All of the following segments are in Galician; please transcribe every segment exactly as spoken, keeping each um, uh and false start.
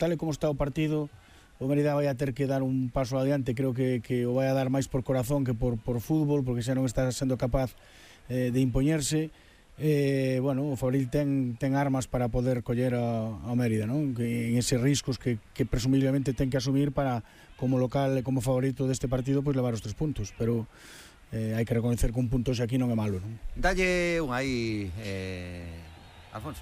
tal e como está o partido, o Mérida vai a ter que dar un paso adiante. Creo que, que o vai a dar máis por corazón que por, por fútbol, porque xa non está sendo capaz eh, de impoñerse. Eh, bueno, o Fabril ten, ten armas para poder coller a, a Mérida, non? Que, en eses riscos que, que presumiblemente ten que asumir para, como local e como favorito deste partido, pois levar os tres puntos, pero eh, hai que reconocer que un punto xa aquí non é malo, non? Dalle un aí, eh, Alfonso.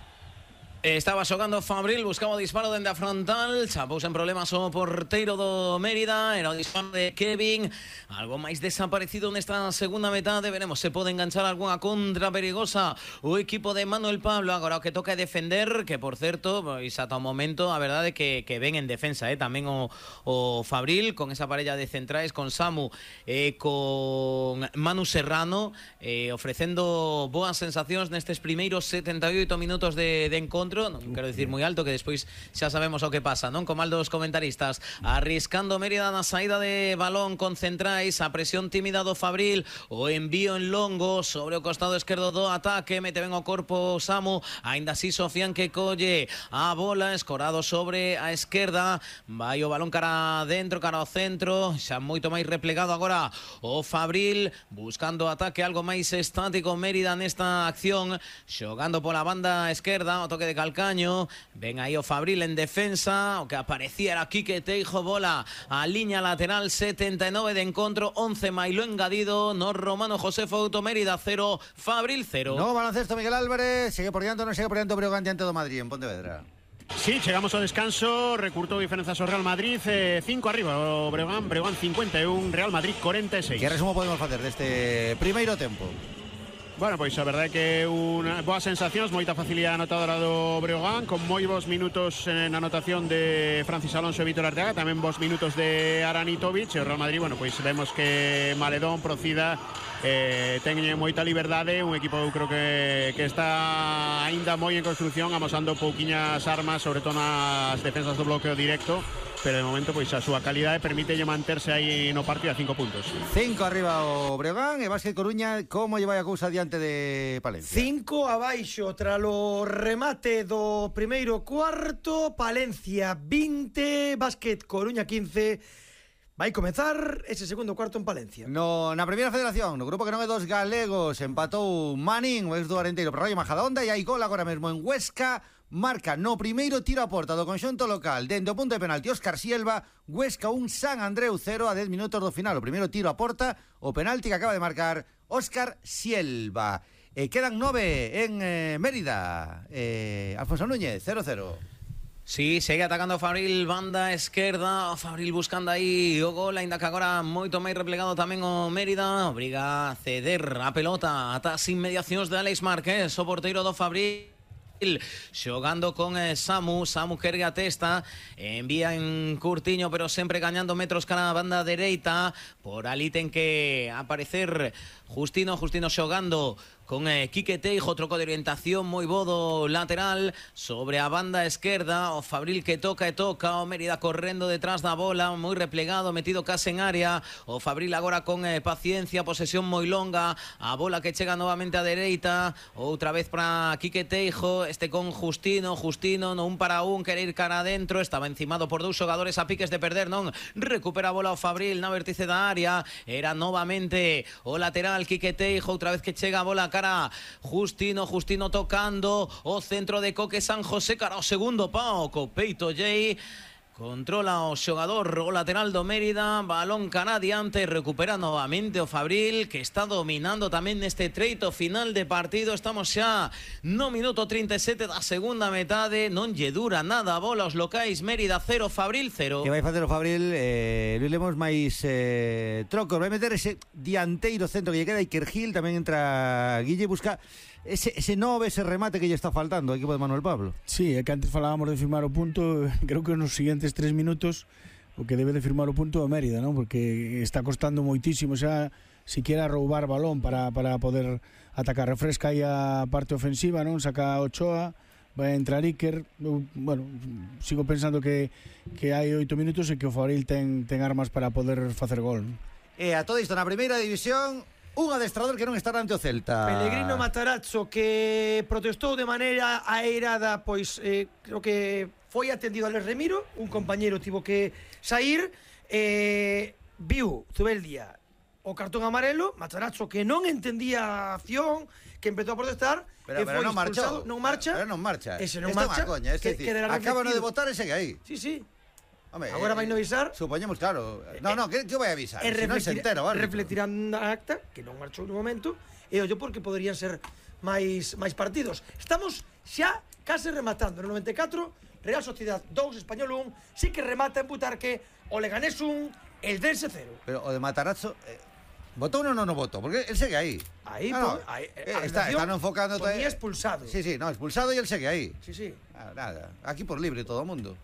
Estaba xogando Fabril, buscaba o disparo dende a frontal, chapouse en problemas o porteiro do Mérida, era o disparo de Kevin, algo máis desaparecido nesta segunda metade, veremos se pode enganchar algunha contra perigosa o equipo de Manuel Pablo. Agora o que toca é defender, que por certo, pois ata o momento a verdade é que, que ven en defensa, eh? tamén o, o Fabril, con esa parella de centrais, con Samu e eh, con Manu Serrano, eh, ofrecendo boas sensacións nestes primeiros setenta e oito minutos de, de encontro. Non quero dicir moi alto, que despois xa sabemos o que pasa, non? Como aldos comentaristas, arriscando Mérida na saída de balón con centrais, a presión tímida do Fabril, o envío en longo sobre o costado esquerdo do ataque, mete ben o corpo Samu, aínda así Sofian que colle a bola, escorado sobre a esquerda, vai o balón cara dentro, cara ao centro, xa moito máis replegado agora o Fabril, buscando ataque algo máis estático Mérida nesta acción, xogando pola banda esquerda, o toque de Calcaño, ven aí o Fabril en defensa, o que aparecía era Quique Teijo, bola a liña lateral, setenta e nove de encontro, once mailo engadido, no Romano José Fouto, Mérida cero, Fabril cero. No baloncesto, Miguel Álvarez, sigue por diante, non sigue por diante o Breogán diante do Madrid en Pontevedra. Sí, chegamos ao descanso, recurtou diferenzas o Real Madrid, cinco eh, arriba o Breogán, Breogán cincuenta e un, Real Madrid cuarenta e seis. Que resumo podemos facer deste primeiro tempo? Bueno, pois a verdade é que unha boas sensacións, moita facilidade anotadora do Breogán, con moi bons minutos na anotación de Francis Alonso e Vítor Arteaga, tamén bons minutos de Aranitovic, e o Real Madrid, bueno, pois vemos que Maledón, Procida, eh, ten moita liberdade, un equipo eu creo que, que está aínda moi en construcción, amosando pouquiñas armas, sobre todo nas defensas do bloqueo directo, pero de momento pois a súa calidade permítelle manterse aí no partido a cinco puntos. Cinco arriba o Breogán e Básquet Coruña, como lle vai a cousa diante de Palencia? Cinco abaixo tralo remate do primeiro cuarto, Palencia vinte, Básquet Coruña quince. Vai comezar ese segundo cuarto en Palencia. No, na primeira federación, no grupo que non é dos galegos, empatou Manín, o ex do Arenteiro, pero Rayo Majadahonda, e hai gol agora mesmo en Huesca. Marca no primeiro tiro a porta do conxunto local dende o punto de penalti Óscar Sielva. Huesca un, San Andreu cero a dez minutos do final. O primeiro tiro a porta, o penalti que acaba de marcar Óscar Sielva. E quedan nove en eh, Mérida. eh, Alfonso Núñez, cero cero. Sí, segue atacando o Fabril, banda esquerda, o Fabril buscando aí o gol, ainda que agora moito máis replegado tamén o Mérida, obriga a ceder a pelota ata as inmediacións de Alex Márquez, o porteiro do Fabril, xogando con eh, Samu, Samu que ergue a testa, envía en curtiño, pero sempre gañando metros cara a banda dereita, por ali ten que aparecer Justino, Justino xogando con eh, Quique Teijo, troco de orientación moi bo do lateral sobre a banda esquerda, o Fabril que toca e toca, o Mérida correndo detrás da bola, moi replegado, metido case en área, o Fabril agora con eh, paciencia, posesión moi longa, a bola que chega novamente a dereita, outra vez para Quique Teijo, este con Justino, Justino no un para un, quere ir cara adentro, estaba encimado por dous xogadores a piques de perder, non, recupera a bola o Fabril na vértice da área, era novamente o lateral Quique Teijo, outra vez que chega a bola cara Justino, Justino tocando o centro de Coque San José cara ao segundo pao, co peito Jay, controla o xogador o lateral do Mérida, balón cara adiante, recupera novamente o Fabril, que está dominando tamén neste treito final de partido. Estamos xa no minuto trinta e sete da segunda metade, non lle dura nada a bola aos locais, Mérida cero, Fabril cero. Que vai facer o Fabril? Eh, Luis Lemos máis eh, trocos, vai meter ese dianteiro centro que lle queda, Iker Gil, tamén entra Guille, busca ese, ese nove, ese remate que lle está faltando ao equipo de Manuel Pablo. Sí, é que antes falábamos de firmar o punto, creo que nos siguientes tres minutos o que debe de firmar o punto é Mérida, non? Porque está costando moitísimo xa siquiera roubar balón para, para poder atacar. Refresca aí a parte ofensiva, non? Saca Ochoa, vai entrar Iker. Eu, bueno, sigo pensando que, que hai oito minutos e que o Fabril ten, ten armas para poder facer gol, non? E a todo isto na primeira división, un adestrador que non está ante o Celta. Pellegrino Matarazzo, que protestou de maneira airada, pois eh, creo que foi atendido a Les Remiro, un compañeiro tivo que sair, eh, viu Zubeldia o cartón amarelo, Matarazzo que non entendía a acción, que empezou a protestar, Pero, que pero foi non marchou. non marcha. Pero non marcha. Ese non Esto é marcha. unha coña, es que, decir, que acaban de reflectido. votar e segue aí. Sí, sí. Hombre, Agora vai eh, no avisar. Supoñemos, claro. No, no, que, que vai avisar? E Se non se entera, vale. reflectirán na acta, que non marchou no momento, e ollo porque poderían ser máis máis partidos. Estamos xa case rematando. No noventa e catro, Real Sociedad dous, Español un, sí que remata en Butarque, o Leganés un, el Dense cero. Pero o de Matarazzo, eh, ¿votó uno o no no votó? Porque él sigue ahí. Ahí, No, no, po- ahí, eh, a está, relación están enfocando... ponía todavía- expulsado. Sí, sí, no, expulsado y él sigue aí. Sí, sí. Ah, nada, aquí por libre todo o mundo.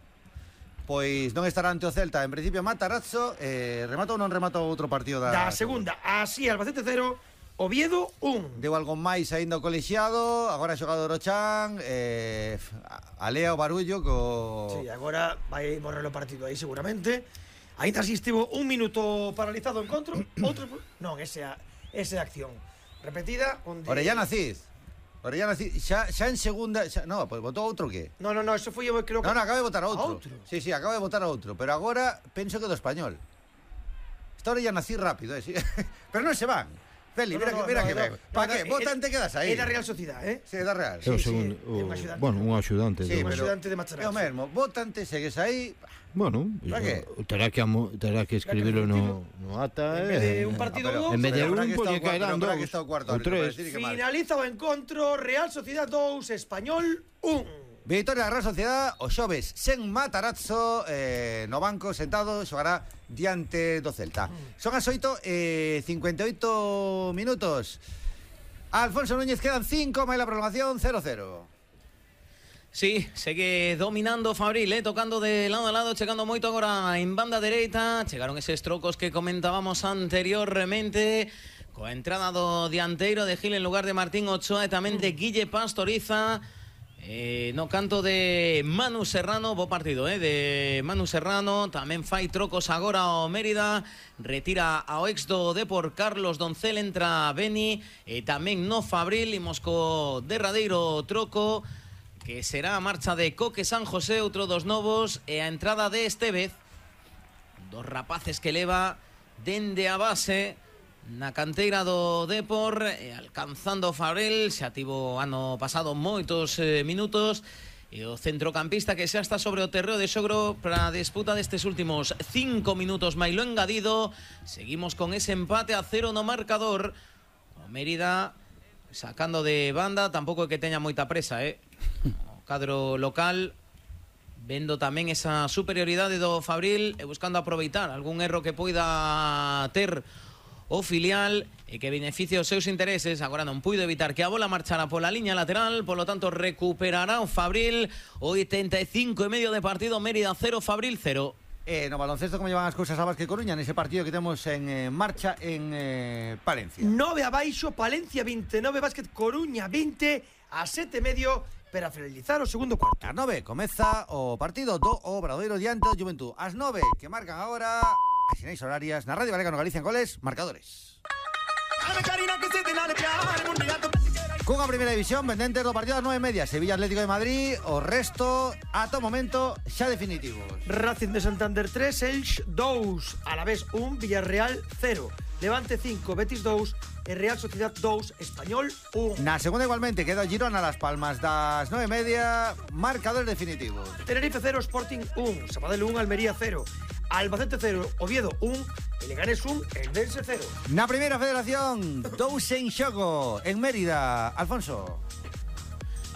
Pois non estará ante o Celta, en principio Matarazzo, eh, remata ou non remata outro partido da... Da segunda, así Albacete cero, Oviedo un. Deu algo máis aínda o colexiado, agora xogado Orochan, eh, alea o barullo co... Sí, agora vai morrer o partido aí seguramente. Ainda así estivo un minuto paralizado o encontro, outro... Non, ese a, ese a acción. Repetida, onde... Orellana Cid. Orellana Cid, xa, xa en segunda... Xa, no, pois votou outro que? No, no, no, eso foi eu creo que... No, no, acaba de votar a outro. A outro? Sí, sí, acaba de votar a outro. Pero agora penso que do Español. Esta Orellana Cid rápido, eh, sí. Pero non se van. Feli, No, mira no, que, no, mira no, que no, ben. no, Pa no, que? é- Votan te quedas aí. É da Real Sociedad, eh? Sí, da Real. É o sí, segundo, é un o- axudante. bueno, un axudante. Sí, un do- pero axudante de é Matarazzo. o mesmo. Votante, segues aí. Bueno, ¿Para qué? terá que, amo- terá que escribirlo no, no ata. En vez de eh, un partido pero- dous, en vez de pero un, habrá que pues, estar lle o cuarto, caerán pero habrá dous que estar o cuarto ou árbitro para tres. decir que marca. Finaliza o encontro, Real Sociedad dous, Español un. Victoria da Real Sociedad, o xoves sen Matarazzo, eh, no banco sentado, xogará diante do Celta. Son as oito e cincuenta e oito minutos. Alfonso Núñez, quedan cinco, máis la prolongación, cero cero. Sí, segue dominando Fabril, eh, tocando de lado a lado, chegando moito agora en banda dereita. Chegaron eses trocos que comentábamos anteriormente, coa entrada do dianteiro de Gil en lugar de Martín Ochoa e tamén de Guille Pastoriza. Eh, no canto de Manu Serrano, bo partido, eh, de Manu Serrano. Tamén fai trocos agora o Mérida, retira ao ex do Depor Carlos Doncel, entra Beni, e tamén no Fabril, imos co derradeiro troco, que será a marcha de Coque San José, outro dos novos, e a entrada de Estevez, dos rapaces que leva dende a base na canteira do Depor, e alcanzando o Fabril, xa tivo ano pasado moitos eh, minutos, e o centrocampista que xa está sobre o terreo de xogro para a disputa destes últimos cinco minutos. Mailo engadido, seguimos con ese empate a cero no marcador. O Mérida sacando de banda, tampouco é que teña moita presa, eh? O cadro local vendo tamén esa superioridade do Fabril e buscando aproveitar algún erro que poida ter o filial e que beneficie os seus intereses. Agora non puido evitar que a bola marchara pola liña lateral, polo tanto recuperará o Fabril. oitenta e cinco e medio de partido, Mérida cero, Fabril cero. Eh, no baloncesto, como llevan as cousas a Vázquez Coruña nese partido que temos en eh, marcha en eh, Palencia. nove abaixo, Palencia veintinueve, Básquet Coruña vinte, a sete e medio para finalizar o segundo cuarto. As nove comeza o partido do Obradoiro diante do Juventud. As nove que marcan agora as sinais horarias na Radio Galega no Galicia en goles, marcadores. Cunha primeira división pendente do partido das nove e media, Sevilla Atlético de Madrid, o resto ata o momento xa definitivos. Racing de Santander tres, Elx dous, Alavés un, Villarreal cero, Levante cinco, Betis dous e Real Sociedad dous, Español un. Na segunda igualmente queda o Girona Las Palmas das nove e media, marcadores definitivos. Tenerife cero, Sporting un, Sabadell un, Almería cero, Albacete cero, Oviedo un, e Leganés un, Eldense cero. Na primeira federación, dous en xogo en Mérida. Alfonso.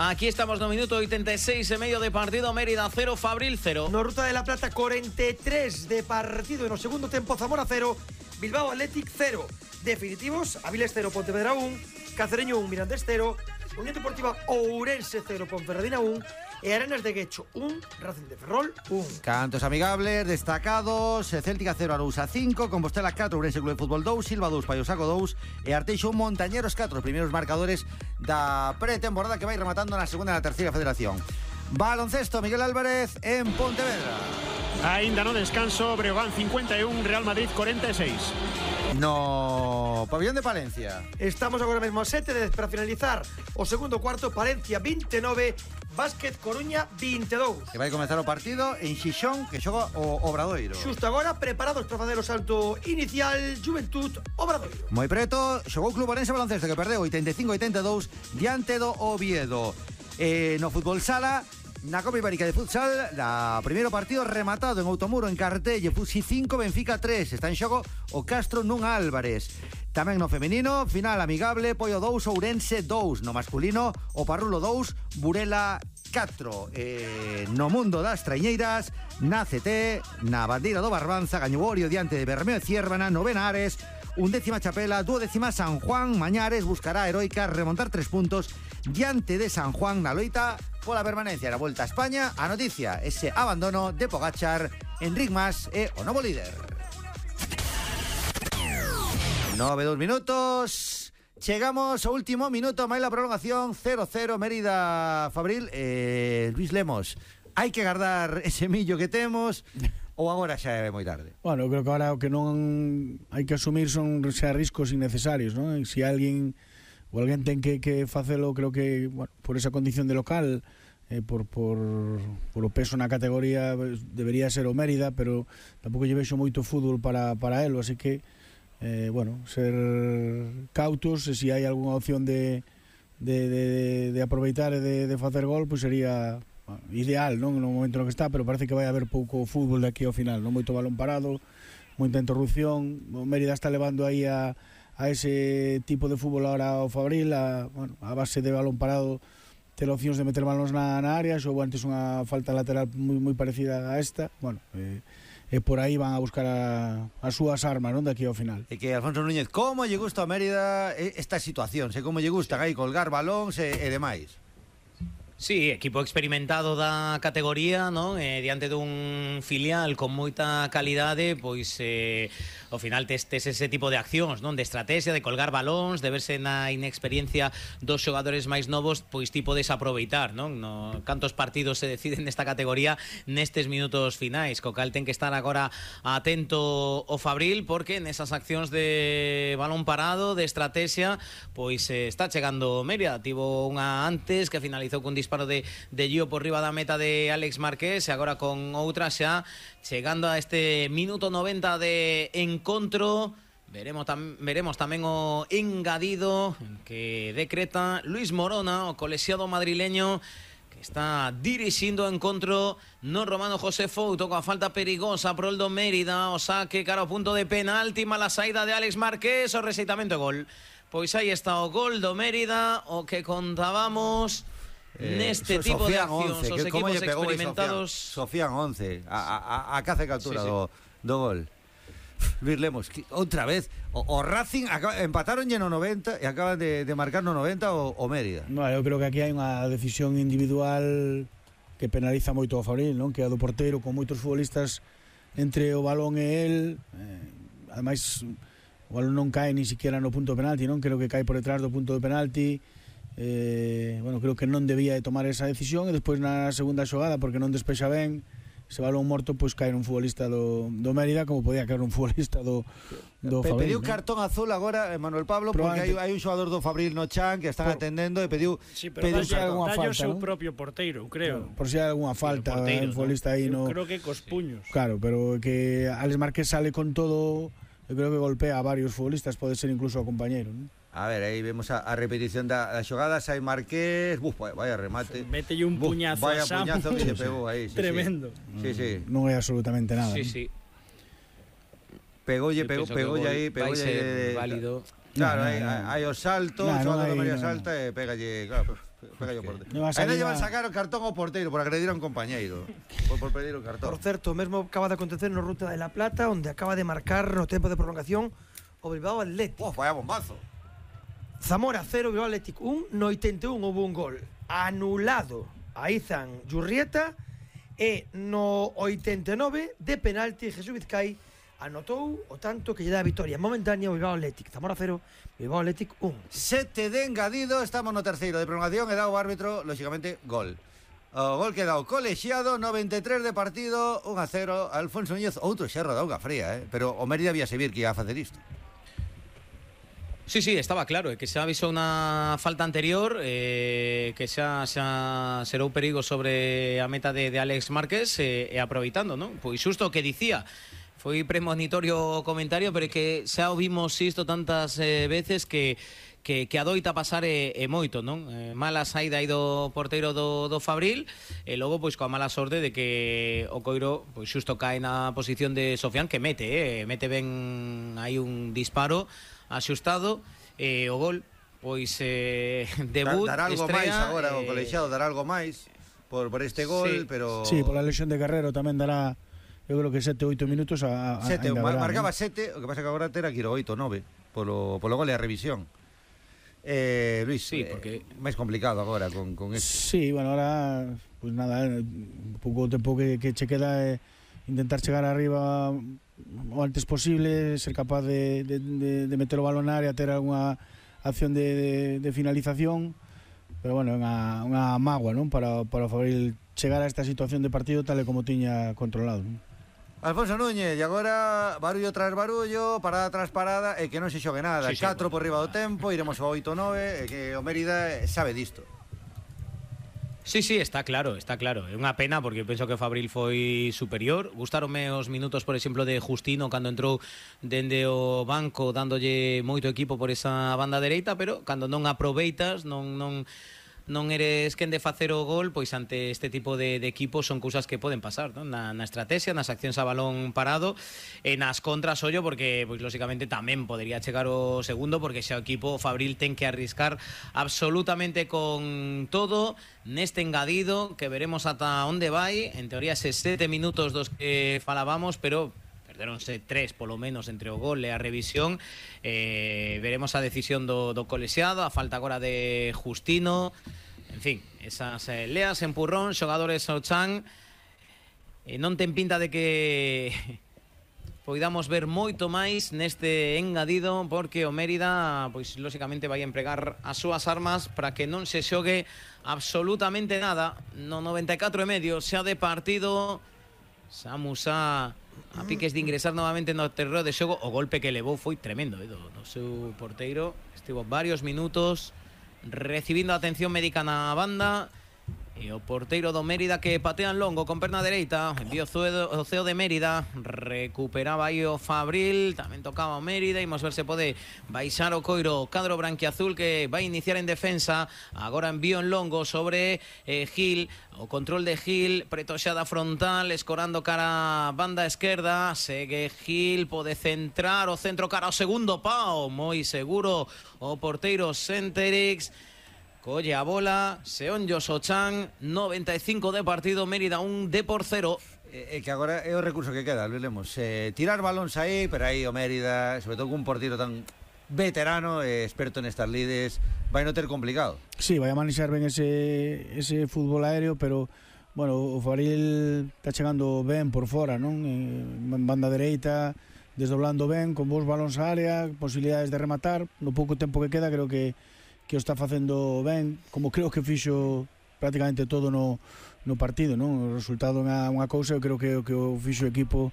Aquí estamos no minuto oitenta e seis e medio de partido, Mérida cero, Fabril cero. No Ruta de la Plata, cuarenta e tres de partido e no segundo tempo, Zamora cero, Bilbao Athletic cero. Definitivos, Avilés cero, Pontevedra un, Cacereño un, Mirandés cero, Unión Deportiva Ourense cero, Ponferradina un e Arenas de Guecho un, Racing de Ferrol un. Cantos amigables, destacados, Céltica cero, Arousa cinco, Compostela catro, Ourense Club de Fútbol dous, Silva dous, Paiosaco dous e Arteixo un, Montañeros catro, os primeiros marcadores da pretemporada que vai rematando na segunda e na terceira federación. Baloncesto, Miguel Álvarez en Pontevedra. Ainda no descanso, Breogán cincuenta y uno, Real Madrid cuarenta y seis. No pabellón de Palencia. Estamos agora mesmo a sete de para finalizar o segundo cuarto. Palencia vinte e nove, Básquet Coruña vinte e dous. Que vai comenzar o partido en Xixón, que xoga o Obradoiro. Xusto agora preparados para facer o salto inicial. Juventud Obradoiro. Moi preto, xogou o Club Orense Baloncesto, que perdeu oitenta e cinco a oitenta e dous diante do Oviedo. Eh, no fútbol sala, na Copa Ibérica de Futsal, na primeiro partido rematado en Outomuro, en Cartelle, Fusi cinco, Benfica tres. Está en xogo o Castro nun Álvarez. Tamén no femenino, final amigable, Poio dous, Ourense dous. No masculino, o Parrulo dous, Burela catro. Eh, no mundo das traiñeiras, na C T, na bandeira do Barbanza, gañou Orio diante de Bermeo e Ciérvana, novena Ares, undécima Chapela, duodécima San Juan. Mañares buscará a heroica remontar tres puntos diante de San Juan na loita pola permanencia na Volta a España. A noticia, ese abandono de Pogačar, Enric Mas e o novo líder. Nove, dos minutos. Chegamos ao último minuto, máis la prolongación, cero cero, Mérida Fabril. eh, Luis Lemos, hai que guardar ese millo que temos ou agora xa é moi tarde? Bueno, eu creo que agora o que non hai que asumir son xa riscos innecesarios, non? Se alguén ou alguén ten que, que facelo, creo que, bueno, por esa condición de local, eh, por, por, por o peso na categoría, debería ser o Mérida, pero tampouco lle vexo moito fútbol para, para elo, así que eh, bueno, ser cautos, e se hai algunha opción de, de, de, de aproveitar e de, de facer gol, pois sería bueno, ideal, non? No momento no que está, pero parece que vai haber pouco fútbol de aquí ao final, non? Moito balón parado, moita interrupción. O Mérida está levando aí a a ese tipo de fútbol ahora o Fabril, a, bueno, a base de balón parado, ter opcións de meter balóns na, na área, ou antes unha falta lateral moi, moi parecida a esta, bueno, e eh, eh, por aí van a buscar a, as súas armas, non, daqui ao final. E que Alfonso Núñez, como lle gusta a Mérida esta situación, se como lle gusta aí colgar balóns e, e demais? Sí, equipo experimentado da categoría, non? Eh, diante dun filial con moita calidade, pois eh, ao final testes ese tipo de accións, non? De estrategia, de colgar balóns, de verse na inexperiencia dos xogadores máis novos, pois tipo desaproveitar, non? No, cantos partidos se deciden nesta categoría nestes minutos finais, co cal ten que estar agora atento o Fabril, porque nesas accións de balón parado, de estrategia, pois eh, está chegando Mérida. Tivo unha antes que finalizou con disparo de, de Gio por riba da meta de Alex Marqués, e agora con outra xa chegando a este minuto noventa de encontro. Veremos, tam, veremos tamén o engadido que decreta Luis Morona, o colexiado madrileño, que está dirixindo o encontro no Romano José Fouto, coa falta perigosa pro el do Mérida, o saque cara ao punto de penalti, mala saída de Alex Marqués, o rexeitamento e gol. Pois aí está o gol do Mérida, o que contábamos eh, neste tipo de accións, os equipos experimentados. Sofían once, a, a, a caza e captura sí, sí. do, do gol. Luis Lemos, outra vez o, o Racing acaba, empataron no noventa e acaban de, de marcar no noventa o, o Mérida. No, eu creo que aquí hai unha decisión individual que penaliza moito o Fabril, non? Que é a do porteiro, con moitos futbolistas entre o balón e el, eh, ademais o balón non cae ni siquiera no punto de penalti, non? Creo que cae por detrás do punto de penalti. Eh, bueno, creo que non debía de tomar esa decisión, e despois na segunda xogada, porque non despexa ben, ese balón morto, pois cae un futbolista do, do Mérida, como podía caer un futbolista do, do Pe, Fabril. Pediu ¿no? Cartón azul agora Manuel Pablo, porque hai, hai un xogador do Fabril no chan que están por, atendendo e pediu, sí, pero pediu algunha falta, o seu ¿no? propio porteiro, creo. Por si hai algunha falta, un futbolista aí no. Creo que cos puños. Claro, pero que Alex Márquez sale con todo, eu creo que golpea a varios futbolistas, pode ser incluso a compañeiro, ¿no? A ver, aí vemos a, a repetición da, da xogada. Sai Marqués, buf, vaya remate. Mételle un buf, puñazo vaya a Samu. Puñazo que lle pegou aí. Sí, tremendo. Sí, sí. Non é absolutamente nada. Sí, ¿no? sí. Pegoulle, pegou, pegoulle aí, pegoulle aí. Válido. Claro, hai no, no, no. o salto, no, o xogador no, no, María no, salta e pegalle, claro, pegalle o porteiro. No Ainda llevan sacar o cartón ao porteiro por agredir a un compañeiro. Por, por pedir o cartón. Por certo, mesmo acaba de acontecer no Ruta de la Plata, onde acaba de marcar no tempo de prolongación o Bilbao Athletic. Oh, vaya bombazo. Zamora cero, Bilbao Athletic un. No oitenta e un houve un gol anulado a Izan Jurrieta, e no oitenta e nove de penalti Jesús Vizcay anotou o tanto que lle dá a victoria momentánea ao Bilbao Athletic. Zamora cero, Bilbao Athletic un. Sete de engadido, estamos no terceiro de prolongación e dá o árbitro, lógicamente, gol. O gol que dá o colexiado, noventa e tres de partido, un a cero. Alfonso Núñez, outro xerro da auga fría, eh? Pero o Mérida había saber que ia a facer isto. Sí, sí, estaba claro, que se avisou unha falta anterior, eh, que xa, xa serou perigo sobre a meta de, de Alex Márquez, eh, e aproveitando, non? Pois xusto o que dicía, foi premonitorio o comentario, pero é que xa o vimos isto tantas eh, veces que que, que adoita pasar e, e moito, non? Eh, mala saída aí do porteiro do, do Fabril, e logo pois coa mala sorte de que o Coiro pois xusto cae na posición de Sofián, que mete, eh, mete ben aí un disparo axustado, e o gol pois eh, debut, dar, dar algo estrea, máis agora, eh, o colexiado dar algo máis por, por este gol, sí. pero... Sí, por la lesión de Guerrero tamén dará, eu creo que sete, oito minutos a, a, sete, ainda verá, marcaba ¿no? sete, o que pasa que agora terá que ir oito, nove polo, polo gol e a revisión. Eh, Luis, sí, porque... eh, máis complicado agora con, con este. Sí, bueno, ahora pues nada, un pouco tempo que, que che queda é eh, intentar chegar arriba o antes posible, ser capaz de, de, de, de meter o balón na área, ter algunha acción de, de, de finalización, pero bueno, unha, unha mágoa, non? Para, para o Fabril chegar a esta situación de partido tal e como tiña controlado, non? Alfonso Núñez, e agora barullo tras barullo, parada tras parada, e que non se xogue nada. Sí, sí, catro bueno. por riba do tempo, iremos ao oito nove, e que o Mérida sabe disto. Sí, sí, está claro, está claro. É unha pena porque penso que o Fabril foi superior. Gustaronme os minutos, por exemplo, de Justino cando entrou dende o banco dándolle moito equipo por esa banda dereita, pero cando non aproveitas, non non non eres quen de facer o gol, pois ante este tipo de, de equipos son cousas que poden pasar, non? Na, na estrategia, nas accións a balón parado, e nas contras ollo, porque pois lógicamente tamén podería chegar o segundo, porque xa o equipo Fabril ten que arriscar absolutamente con todo neste engadido, que veremos ata onde vai. En teoría eses sete minutos dos que falábamos, pero perderonse tres polo menos entre o gol e a revisión. Eh, veremos a decisión do, do colexiado, a falta agora de Justino. En fin, esas eh, leas, empurrón, xogadores ao chan. Eh, non ten pinta de que poidamos ver moito máis neste engadido, porque o Mérida, pois lógicamente vai empregar as súas armas para que non se xogue absolutamente nada. No noventa e catro e medio xa de partido, Samus a a piques de ingresar novamente no terreo de xogo. O golpe que levou foi tremendo, eh, do, do seu porteiro. Estivo varios minutos recibindo atención médica na banda, e o porteiro do Mérida que patea en longo con perna dereita, envío o ceo de Mérida, recuperaba aí o Fabril, tamén tocaba o Mérida. Imos ver se pode baixar o coiro cadro branquiazul, que vai iniciar en defensa. Agora envío en longo sobre eh, Gil, o control de Gil, pretoxada frontal, escorando cara a banda esquerda. Segue Gil, pode centrar o centro cara ao segundo pau, moi seguro o porteiro Senterix. Colle a bola, Seonjo Sochan, noventa e cinco de partido, Mérida un de por cero. É eh, que agora é o recurso que queda, Luis Lemos. Eh, tirar balóns aí, pero aí o Mérida, sobre todo con un portero tan veterano e experto nestas lides, vai non ter complicado. Sí, vai a manexar ben ese, ese fútbol aéreo, pero bueno, o Fabril está chegando ben por fora, non? En banda dereita, desdoblando ben, con bons balóns á área, posibilidades de rematar. No pouco tempo que queda, creo que que o está facendo ben, como creo que fixo prácticamente todo no, no partido, non? O resultado é unha cousa, eu creo que o que o fixo o equipo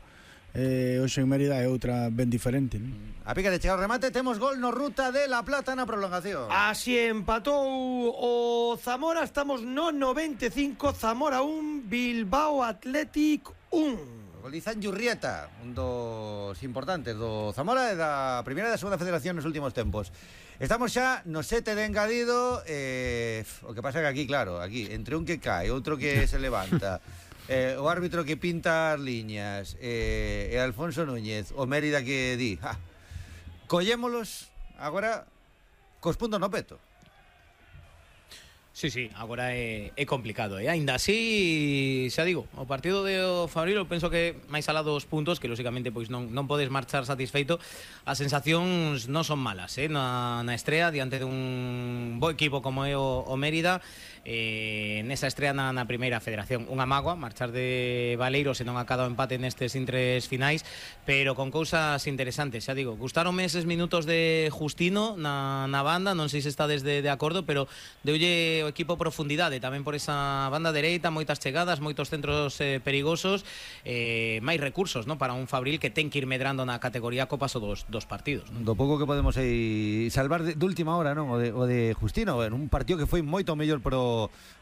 eh, hoxe en Mérida é outra ben diferente, non? A pica de chegar o remate, temos gol no Ruta de La Plata na prolongación. Así empatou o Zamora, estamos no noventa e cinco, Zamora un, Bilbao Athletic un. Gol de Izan Yurrieta, un dos importantes do Zamora e da primeira e da segunda federación nos últimos tempos. Estamos xa no sete de engadido, eh, o que pasa que aquí, claro, aquí, entre un que cae, outro que se levanta, eh, o árbitro que pinta as liñas, eh, e Alfonso Núñez, o Mérida que di, ja, collémolos agora cos puntos no peto. Sí, sí, agora é, é complicado, e eh? aínda así, xa digo, o partido de o Fabril, eu penso que máis alá dos puntos, que lógicamente pois non, non podes marchar satisfeito, as sensacións non son malas, eh? na, na estrea, diante dun bo equipo como é o, o Mérida, eh, nesa estrea na, na primeira federación. Unha mágoa marchar de Baleiro se non acada o empate nestes intres finais, pero con cousas interesantes, xa digo. Gustaronme eses minutos de Justino na, na banda, non sei se está desde de acordo, pero deulle o equipo profundidade tamén por esa banda dereita, moitas chegadas, moitos centros eh, perigosos, eh, máis recursos, ¿no? Para un Fabril que ten que ir medrando na categoría co paso dos, dos partidos, ¿no? Do pouco que podemos aí salvar de, de última hora, non? O de, o de Justino, en un partido que foi moito mellor pro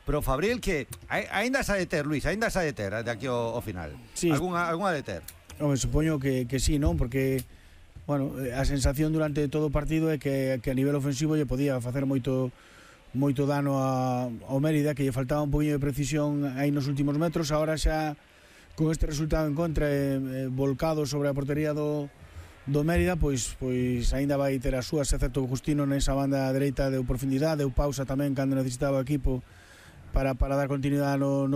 pro Fabril, que aínda sa de ter, Luis, aínda sa de ter de aquí ao, ao final. Sí. Algúnha, algúnha de ter. Home, supoño que, que sí, non? Porque, bueno, a sensación durante todo o partido é que, que a nivel ofensivo lle podía facer moito moito dano a, ao Mérida, que lle faltaba un poquinho de precisión aí nos últimos metros. Agora xa, con este resultado en contra, eh, eh, volcado sobre a portería do do Mérida, pois pois aínda vai ter as súas, excepto o Justino nesa banda dereita, deu profundidade, deu pausa tamén cando necesitaba o equipo para, para dar continuidade no, no